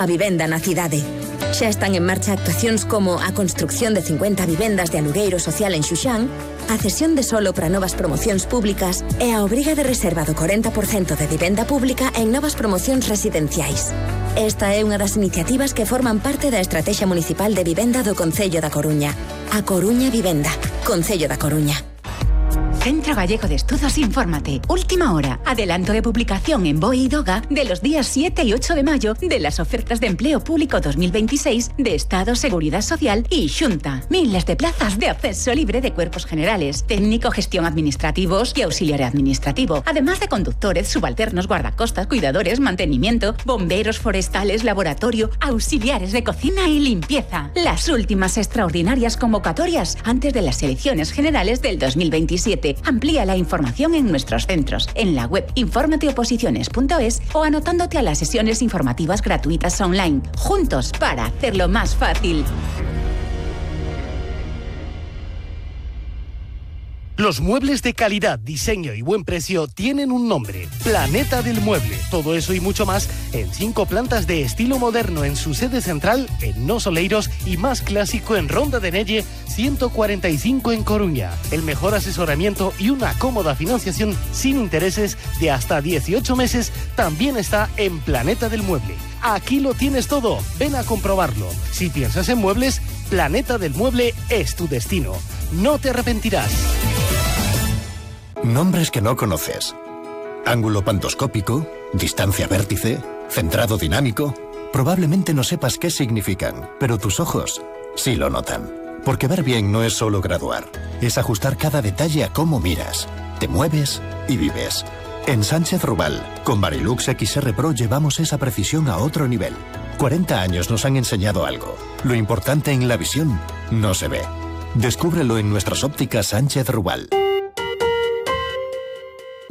A vivenda na cidade. Xa están en marcha actuacións como a construcción de 50 vivendas de alugueiro social en Xuxán, a cesión de solo para novas promocións públicas e a obriga de reserva do 40% de vivenda pública en novas promocións residenciais. Esta é unha das iniciativas que forman parte da Estrategia Municipal de Vivenda do Concello da Coruña. A Coruña Vivenda, Concello da Coruña. Centro Gallego de Estudos Infórmate. Última hora. Adelanto de publicación en BOE y DOGA de los días 7 y 8 de mayo de las ofertas de empleo público 2026 de Estado, Seguridad Social y Xunta. Miles de plazas de acceso libre de cuerpos generales, técnico, gestión administrativos y auxiliar administrativo. Además de conductores, subalternos, guardacostas, cuidadores, mantenimiento, bomberos forestales, laboratorio, auxiliares de cocina y limpieza. Las últimas extraordinarias convocatorias antes de las elecciones generales del 2027. Amplía la información en nuestros centros, en la web informateoposiciones.es o anotándote a las sesiones informativas gratuitas online. Juntos para hacerlo más fácil. Los muebles de calidad, diseño y buen precio tienen un nombre: Planeta del Mueble. Todo eso y mucho más en 5 plantas de estilo moderno en su sede central en Nos Oleiros y más clásico en Ronda de Nelle 145 en Coruña. El mejor asesoramiento y una cómoda financiación sin intereses de hasta 18 meses también está en Planeta del Mueble. Aquí lo tienes todo, ven a comprobarlo. Si piensas en muebles, Planeta del Mueble es tu destino. No te arrepentirás. Nombres que no conoces. Ángulo pantoscópico, distancia vértice, centrado dinámico. Probablemente no sepas qué significan, pero tus ojos sí lo notan. Porque ver bien no es solo graduar, es ajustar cada detalle a cómo miras, te mueves y vives. En Sánchez Rubal, con Varilux XR Pro llevamos esa precisión a otro nivel. 40 años nos han enseñado algo. Lo importante en la visión no se ve. Descúbrelo en nuestras ópticas Sánchez Rubal.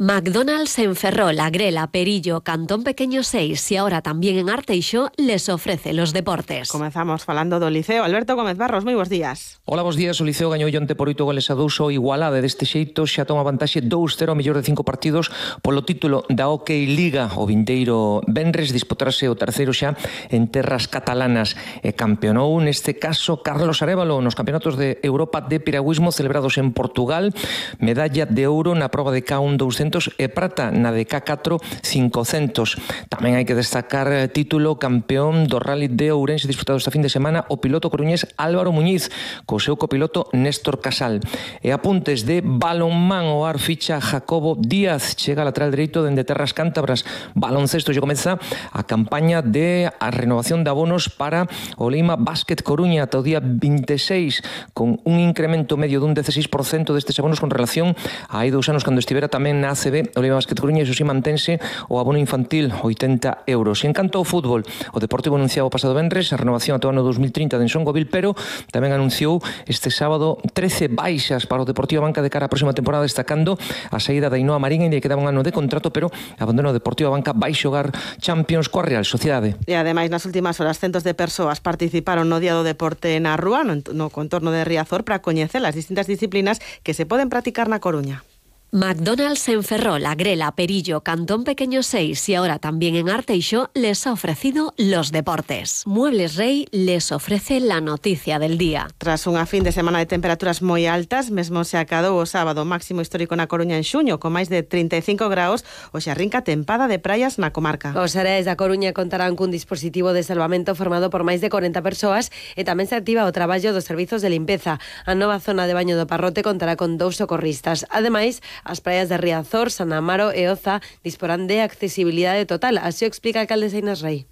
McDonald's en Ferrol, Agrela, Perillo, Cantón Pequeño 6 y ahora también en Arteixo les ofrece los deportes. Comezamos falando do Liceo. Alberto Gómez Barros, moi bons días. Hola, bons días. O Liceo gañou onte por 8 goles a 2 o Igualada. Deste xeito xa toma vantaxe 2-0 mellor de 5 partidos polo título da OK Liga. O vindeiro venres disputarase o terceiro xa en terras catalanas. Campeonou neste caso Carlos Arévalo nos campeonatos de Europa de piragüismo celebrados en Portugal. Medalla de ouro na proba de K1 200 e prata na de K4 500. Tamén hai que destacar título campeón do Rally de Ourense disputado esta fin de semana o piloto coruñés Álvaro Muñiz co seu copiloto Néstor Casal. E apuntes de balonmán, o Ar ficha Jacobo Díaz, chega lateral dereito dende terras cántabras. Baloncesto lle comeza a campaña de a renovación de abonos para o Lima Basket Coruña ata o día 26 con un incremento medio dun 16% destes abonos con relación a hai 2 anos cando estivera tamén na ACB, o Lima Basket Coruña, iso si mantense o abono infantil 80 euros. E en canto ao fútbol, o Deportivo anunciaba o pasado venres a renovación ata o ano 2030 de Ensongovil, pero tamén anunciou este sábado 13 baixas para o Deportivo Banca de cara á próxima temporada, destacando a saída da Ainhoa Marín, ainda que quedaba un ano de contrato, pero abandono o Deportivo Banca, vai xogar Champions coa Real Sociedade. E ademais, nas últimas horas, centos de persoas participaron no Día do Deporte na Rúa, no contorno de Riazor, para coñecer as distintas disciplinas que se poden practicar na Coruña. McDonald's en Ferrol, Agrela, Perillo, Cantón Pequeño 6 y ahora también en Arteixo les ha ofrecido los deportes. Muebles Rey les ofrece la noticia del día. Tras unha fin de semana de temperaturas moi altas, mesmo se acadou o sábado máximo histórico na Coruña en xuño, con máis de 35 graus, hoxe arrinca tempada de praias na comarca. Os areais da Coruña contarán cun dispositivo de salvamento formado por máis de 40 persoas e tamén se activa o traballo dos servizos de limpeza. A nova zona de baño do Parrote contará con 2 socorristas. Ademais, as praias de Riazor, San Amaro e Oza disporán de accesibilidade total, así o explica a alcaldesa Inés Rei.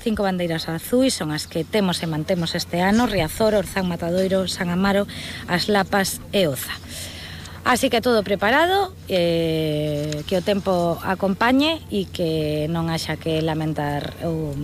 5 bandeiras azuis son as que temos e mantemos este ano: Riazor, Orzán, Matadoiro, San Amaro, As Lapas e Oza. Así que todo preparado, que o tempo acompañe e que non haxa que lamentar ou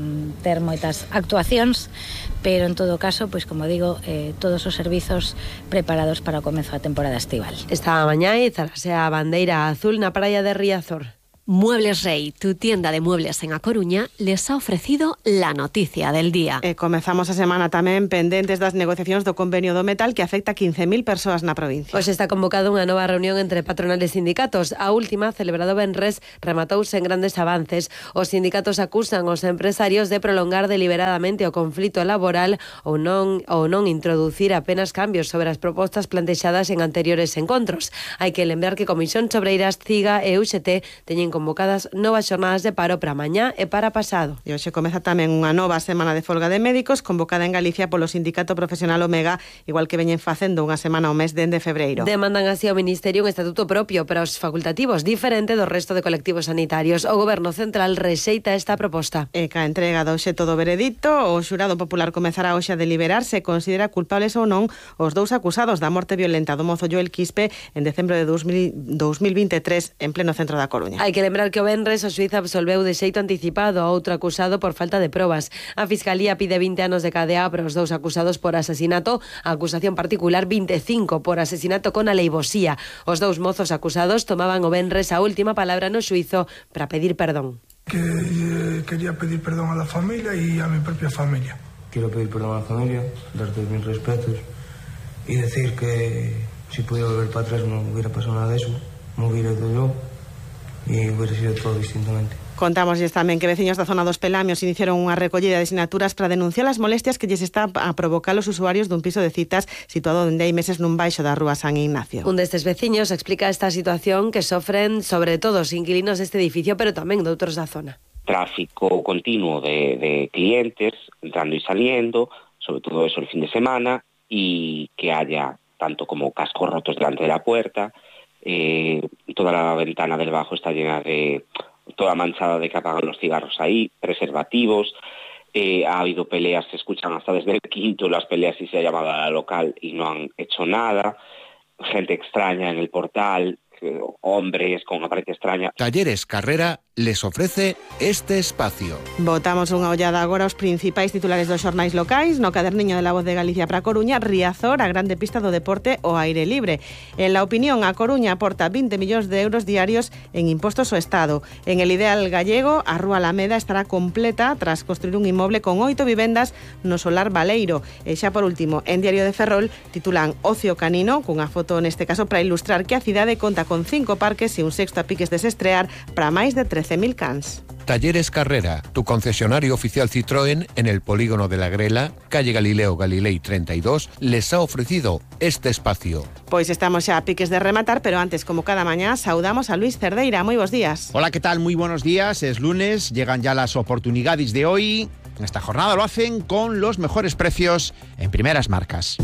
ter moitas actuacións, pero en todo caso, pois como digo, todos os servizos preparados para o comezo da temporada estival. Esta mañá izarase a bandeira azul na praia de Riazor. Muebles Rey, tu tienda de muebles en A Coruña, les ha ofrecido la noticia del día. Comezamos a semana tamén pendentes das negociacións do convenio do metal que afecta a 15.000 persoas na provincia. Hoxe está convocada unha nova reunión entre patronales e sindicatos. A última, celebrado venres, rematouse en grandes avances. Os sindicatos acusan aos empresarios de prolongar deliberadamente o conflito laboral ou non introducir apenas cambios sobre as propostas plantexadas en anteriores encontros. Hai que lembrar que Comisión Obreiras, CIGA e UGT teñen convocadas novas xornadas de paro para mañá e para pasado. E hoxe comeza tamén unha nova semana de folga de médicos convocada en Galicia polo Sindicato Profesional Omega, igual que veñen facendo unha semana ao mes dende febreiro. Demandan así ao Ministerio un estatuto propio para os facultativos, diferente do resto de colectivos sanitarios. O Goberno Central rexeita esta proposta. E ca entrega do obxecto do veredicto, o xurado popular comezará hoxe a deliberar se considera culpables ou non os dous acusados da morte violenta do mozo Joel Quispe en decembro de 2023 en pleno centro da Coruña. Hai que lembrar que o venres o xuíz absolveu de xeito anticipado a outro acusado por falta de probas. A Fiscalía pide 20 anos de cadea para os dous acusados por asesinato, a acusación particular 25 por asesinato con aleivosía. Os dous mozos acusados tomaban o venres a última palabra no xuízo para pedir perdón. Quería pedir perdón a la familia y a mi propia familia. Quiero pedir perdón a la familia, darte mis respetos y decir que si pudiera volver para atrás no hubiera pasado nada de eso, me hubiera ido yo e hubiera sido todo distintamente. Contámoslles tamén que veciños da zona dos Pelamios iniciaron unha recollida de sinaturas para denunciar as molestias que lles está a provocar os usuarios dun piso de citas situado dende hai meses nun baixo da rúa San Ignacio. Un destes veciños explica esta situación que sofren sobre todo os inquilinos deste edificio, pero tamén de outros da zona. Tráfico continuo de clientes entrando y saliendo, sobre todo eso el fin de semana, y que haya tanto como cascos rotos delante de la puerta. Toda la ventana del bajo está llena de toda manchada de que apagan los cigarros ahí, preservativos. Ha habido peleas, se escuchan hasta desde el quinto las peleas y se ha llamado a la local y no han hecho nada. Gente extraña en el portal, hombres con apariencia extraña. Talleres Carrera les ofrece este espacio. Botamos unha ollada agora aos principais titulares dos xornais locais. No caderniño de La Voz de Galicia para Coruña, Riazor, a grande pista do deporte ao aire libre. En La Opinión, a Coruña aporta 20 millóns de euros diarios en impostos ao Estado. En El Ideal gallego, a Rúa Alameda estará completa tras construir un inmoble con 8 vivendas no solar Baleiro. E xa por último, en Diario de Ferrol titulan Ocio Canino, cunha foto neste caso para ilustrar que a cidade conta con 5 parques e un sexto a piques de se estrear para máis de 13.000 cans. Talleres Carrera, tu concesionario oficial Citroën en el polígono de la Grela, calle Galileo Galilei 32, les ha ofrecido este espacio. Pois estamos xa a piques de rematar, pero antes, como cada mañá, saudamos a Luis Cerdeira. Moi bons días. Hola, ¿qué tal? Muy buenos días. Es lunes, llegan ya las oportunidades de hoy. En esta jornada lo hacen con los mejores precios en primeras marcas.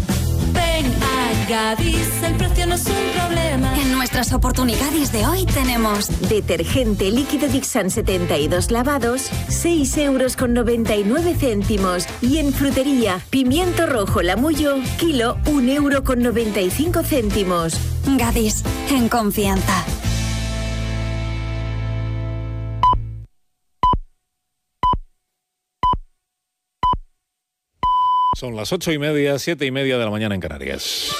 Ven a Gadis, el precio no es un problema. En nuestras oportunidades de hoy tenemos detergente líquido Dixan 72 lavados, 6,99 €. Y en frutería, pimiento rojo Lamullo, kilo, 1,95 €. Gadis, en confianza. Son las 8:30, 7:30 de la mañana en Canarias.